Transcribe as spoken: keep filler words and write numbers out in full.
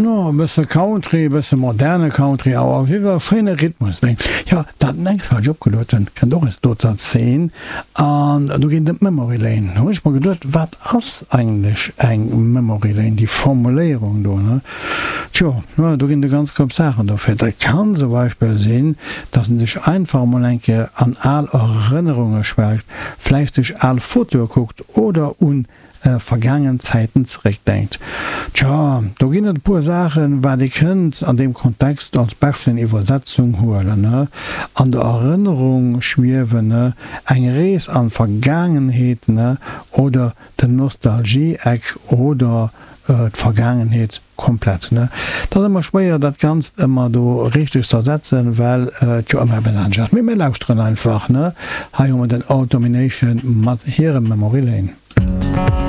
No, e bësse Country, e bësse moderne Country, awer op jidde Fall schéine Rhythmus, ne? Jo, dat nächst, wat ech opgeluet hunn, kënnt och aus doter Zeen, an do geet et ëm d'Memory Lane. Do hunn ech mer geduet, wat ass eigentlech eng Memory Lane, déi Formuléierung do, ne? Tjo, do ginn et e ganz Koup Saachen dofir. Dat kann zum Beispill sinn, dass en sech einfach emol eng Kéier an al Erënnerunge schwelgt, vläicht sech al Fotoe kuckt oder un vergaangen Zäiten zeréckdenkt. Tja, do ginn et e puer Saachen, wat ee kënnt an deem Kontext als beschten Iwwersetzung huelen, an der Erënnerung schwiewen, eng Rees an d'Vergaangenheet oder den Nostalgie-Eck oder d'Vergaangenheet komplett. Et ass ëmmer schwéier dat Ganzt ëmmer do richteg ze ersetzen, well et jo ëmmer eppes anescht ass. Mee mir lauschteren einfach. Hei hu mer den Old Domination mat hirem Memory Lane.